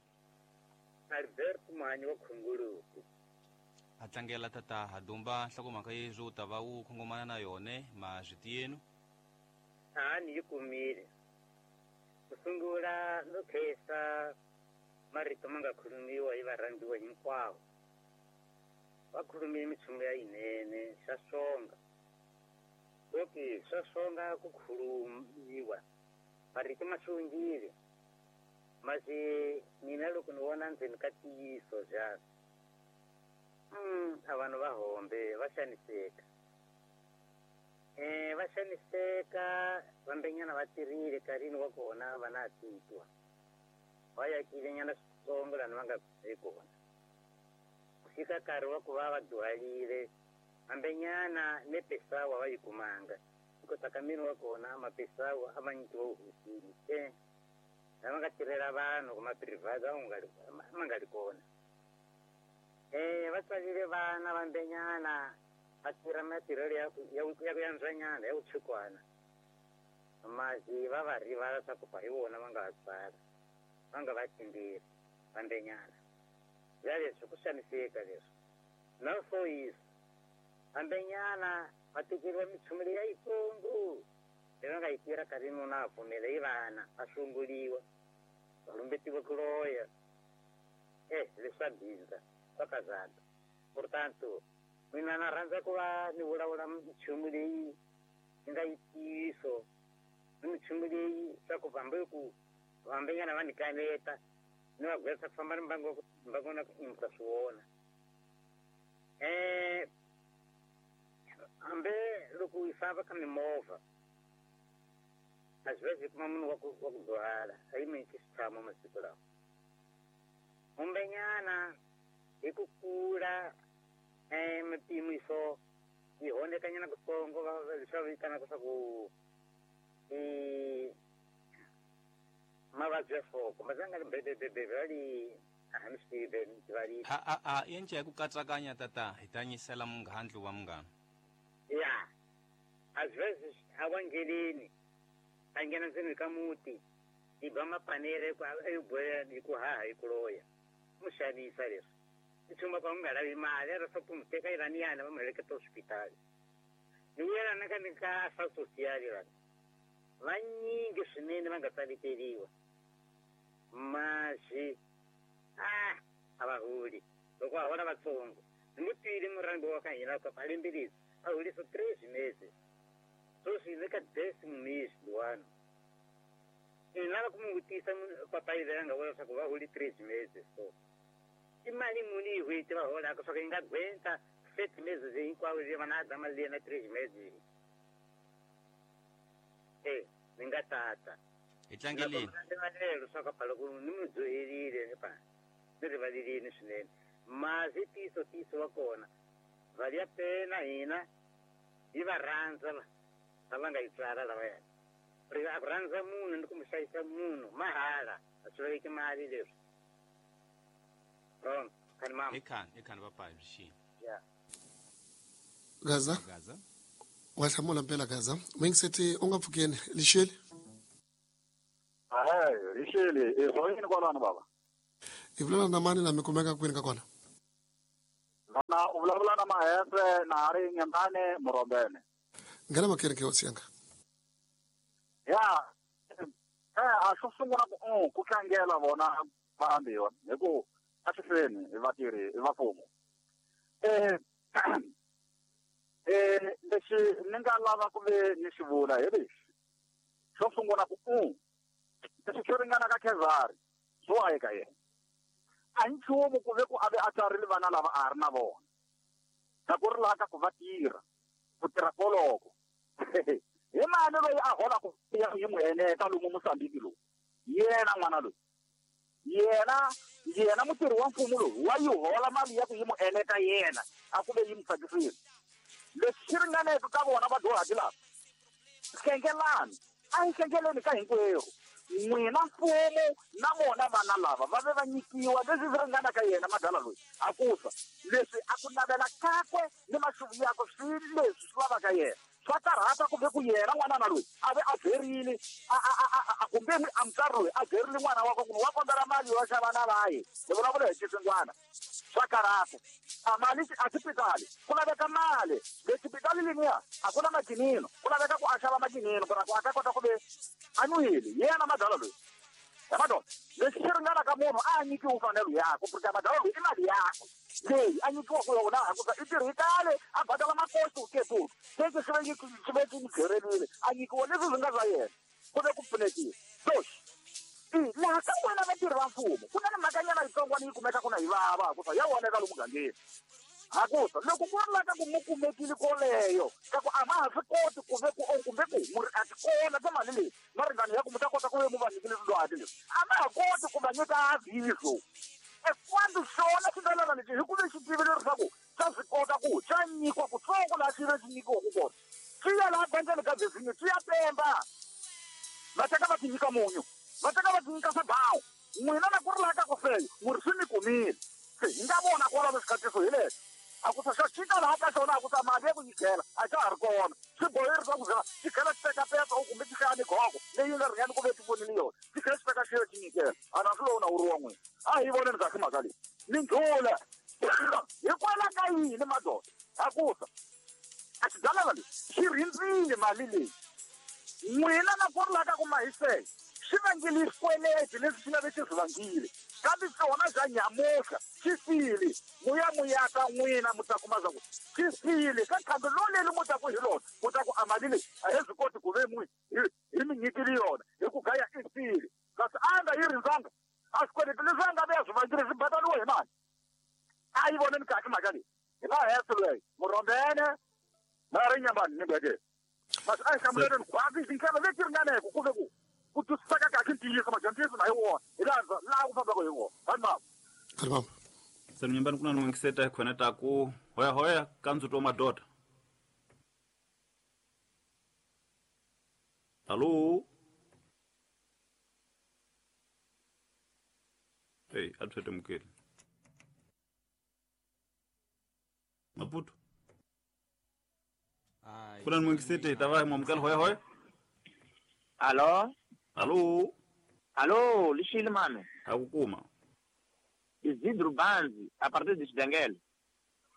Albert Manyi wa Khunguluku. A tlangela tata ha Dumba nhlokomhaka yezwi u ta va wu khongomana na yone mazwiti yenu. A ni yi kumile. Ku sungula no khensa marito ma nga khulumiwa hi varhandziwa hinkwavo. Va khulumile minchumu ya yinene xa swonga. Oke swa swonga ku khulumiwa. Marito ma xongile. Masi mina loko ni vona ndzeni ka ntiyiso xana. A vanhu va hombe va xaniseka. Va xaniseka vambenyana va tirhile nkarhini wa kona va na titwa. Va yakile nyana switsongo lani va nga hi kona. Ku fika nkarhi wa ku va va dyuharile vambenyana ne pesawa va yi kumanga. Hikuva ka miri wa kona mapesawa a ma nyikiwa hosini se. Lava nga tirhela vanhu kuma private ma nga ri kona. Va tswalile vana vambenyana va tirha matirhelo ya ku yantswanyana ya vutshukwana. Masi va va rivala swa ku hi vona va nga va tswala, va nga va timbirhi vambenyana. Ya leswi ku xaniseka leswi. Na foyisa vambenyana va tekeriwa minchumu leyi ya yitsongo leyi va nga yi tirha nkarhi nuna a pfumela hi vana va hlongoliwa va lumbetiwa ku loya. Leswi swa bindza swa kazaka. Portanto mina na rhandza ku va ni vulavula minchumu leyi yi nga yi ntiyiso ni minchumu leyi swa ku hambi ku vambenyana va ni kaneta ni va gwetsa ku famba ni mbangu na ku imisa swi vona. Hambi loko yi famba ka mimovha a swi va kuma munhu wa ku dyuhala a yi nyiki xitshamo masiku lawa. Humbenyana hi ku kula mipimiso yi honekanyana kutsongo leswi va vitanaka swa ku i mavabyi ya nhloko mazanga ri bebebebe va li a ni swi tivi va li. A yence ya ku katsakanya tata hi ta nyisela munghandlu wa munghana. Ya às vezes a wa ngheleni a nghena ndzeni ka muti yi ba mapanere hi ku haha hi ku loya mu xanisa leswi i tshumba ku nga lavi mali ra swa ku mu teka iraniyana va mu heleketa hospitali. Ni vuyelana ka ni ka swa social lani vanyingi swinene va nga tsaleteriwa masi a va holi loko va hola vatsongo. Ni mu twile murhangi wa ka hina ka a lembe a holisa 3 meses sweswi ni ka 10 mês luwani. Ni lava ku mu vutisa papayi leri a nga vula leswaku va holi 3 meses so i mali muni hi n'hweti va holaka swa ku yi nga gwenta 7 meses hinkwawo leyi va na dya mali leyi na 3 meses. Ni nga tata. Hi tlangeleni. Rivalelo swa ku loko ni mu dyoherile ni pa ni rivalelini swinene. Masi tiso wa kona vale a pena hina hi va rhandza lava nga yi tswala lavaya. Ri a ku rhandza munhu ni ku mu hlayisa munhu mahala a swi laveki mali leswi. Pronto. Khani mama. Ekhani ekhani papai byi Ya. Gaza. Gaza. Wa hlamula mpela Gaza. Mwingiseti u nga pfukeni lixeli. Hayi, lixeli, i zwa kwalano baba. Hi vulavula na mani na mi kumeka kwini ka kona? Na u vulavula na Mahefe na ha ri Nyembane Murombene. Nghena makereke hosi yanga. Ya, a xo sungula ku ku tlangela vona vaambiwa hi ku a swi feni hi vatirhi va mfumo. Lexi ni nga lava ku ve ni xi vula hi lexi. Xo sungula ku lexi xo ringana ka Khezari swo a eka yena. A hi nchumu ku ve ku a ve a tsarile vana lava a ha ri na vona. Na ku ri laha ka ku va tirha, ku tirha koloko. Hi mani loyi a holaka ya yi n'wi eneta lomu Mozambique lowu? Yena n'wana loyi. Yena mutirhi wa mfumo lowu wa yi hola mali ya ku yi n'wi eneta yena, a ku ve yi n'wi tsakisile. Leswi swi ringaneke ka vona vadyuhari lava, hlengelani, a hi hlengeleni ka hinkwerhu. N'wina mfumo na vona vana lava va ve va nyikiwa leswi swi ringanaka yena madala loyi. A ku sa leswi a ku navela kakwe ni maxuvu yakwe swi leswi swi lavaka yena. Swa karhata ku ve ku yena n'wanana loyi a ve a byerile, a kumbe a mutswari loyi a byerile n'wana wakwe ku wa kombela mali yo xava na vaye. Hi vulavula hi xisingwana. Swa karhata. A mali a xipitali ku laveka mali. Le xipitali leniya a ku na makinino, ku laveka ku a xava makinino ku ra ku a ta kota ku ve a nwile yena madala loyi. Ya madoda, leswi swi ringanaka munhu a nyikiwe mfanelo yakwe, porque madala loyi i mali yakwe leyi a nyikiwaka yona hikuva i tirhi kale a badala makosi ketu teke swi ve swi ve swi n'wi byerile a nyikiwa leswi swi nga swa yena ku ve ku pfunekile. So laha ka n'wina vatirhi va mfumo ku na ni mhakanyana yitsongwana yi kumekaka na yi vava hikuva ya voneka lomu mugangeni. Hakusa loko ku ri la ka ku mu kumekile koleyo ka ku a ma ha swi koti ku ve ku kumbe ku mu ri a ti kona ka mali leyi maringano ya ku mu ta kota ku ve mu va nyikile swilwati leswi a ma ha koti ku va nyika aviso. Ekwambi xona xindalana lexi hi ku ve xi tivile leswaku xa swi kota ku xa nyikiwa kutsongo laha xi ve xi nyikiwaka kona. Xi ya laha bangeni ka Virginia, xi ya pemba. Va teka va ti nyika munyu, va teka va ti nyika swabawu. N'wina na ku ri laha ka ku feyo mu ri swi mi kumile. Se hi nga vona kwalaho xikhatiso hi lexi. A ku sa xa xika laha ka xona a ku sa mali ya ku nyikela a xa ha ri kona. Swi boheri swa ku za xi tlhela xi teka petsa u kumbe xi hlaya migogo leyi nga ringani ku ve ti vonile yona. Xi tlhela xi teka xi ya xi nyikela. A na swi lona wu ri wa n'wina. A hi voneni kahle mhaka leyi. Ni ndlhula. Hikwalaho ka yini madoda? A ku sa a xidalana lexi xi rindzile mali leyi. N'wina na ku ri laha ka ku mahisela xi vangile xikweleti leswi xi nga ve xi swi vangile. Kambe xona xa nyamuhla xi file. Muya muyaka n'wina mu ta kuma swa ku xi file. Ka khambi loleli mu ta ku hi lona, mu ta ku a mali leyi a he swi koti ku ve n'wi hi mi nyikile yona hi ku gaya i file. Kasi a nga yi rindzanga. A swikweleti leswi a nga ve a swi vangile swi badaliwe hi mali. A yi voneni kahle mhaka leyi. Hi Mahefe loyi, Murombene, na ri Nyambani ni Ngwede. Mas a hi hlamuleleni khwatsi tindlela leti ringaneke ku ve ku ku twisiseka kahle ntiyiso, madyondziso na hi wona hi laha laha ku fambaka hi wona. Vanhu mama. Vanhu mama. Se Nyambani ku na n'wingiseta hi khona ta ku hoya hoya ka ndzuto wa madoda. Alo. Hey, a tshwete mukeli. Maputo. Ku na n'wingiseti hi ta va hi mwamukela hoya hoya. Alo. Alo. Alo, lixile mano. Ha ku kuma. Isidro Banzi, a partir de Xidengele.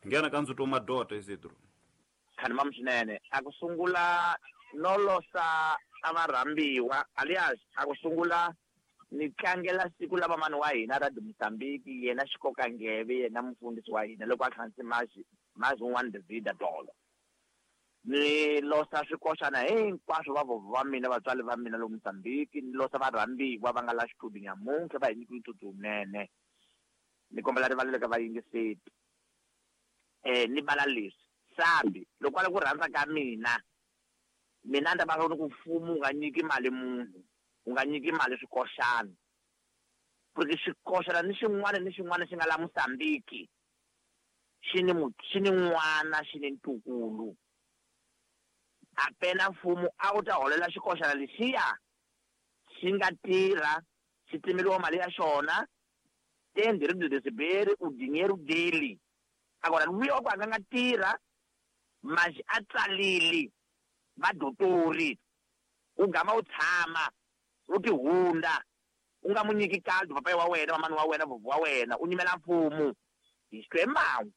Nghena ka ndzuto wa madoda Isidro. Khani mamu swinene. A ku sungula no losa a va rhambiwa, alias a ku sungula ni tlangela siku la vamani wa hina ra Mozambique, yena xikoka ngeve, yena mufundhisi wa hina loko a hlanganise mazi un'wana Davida Dolo. Ni losa swikoxana hinkwaswo va vovho va mina, vatswari va mina lomu Mozambique, ni losa varhambiwa va nga la xitudio nyamuntlha va hi nyikile ntsutsu wunene. Ni kombela rivalelo ka vayingiseti. Ni vala leswi. Sambi, loko a ri ku rhandza ka mina, mina ni ta va ni ku mfumo wu nga nyiki mali munhu, wu nga nyiki mali swikoxana. Porque xikoxana ni xin'wana ni xin'wana xi nga la Mozambique, xi ni xi ni n'wana, xi ni ntukulu. A pena mfumo a wu ta holela xikoxana lexiya xi nga tirha, xi timeliwa mali ya xona, Tem direito de receber o dinheiro dele. Agora, luya wa ku a nga nga tirha, mas a tsalile vadotori, u gama u tshama u tihunda, u nga mu nyiki caldo papai wa wena, mamani wa wena, vovho wa wena, u nyimela mfumo. Hi xikwembu.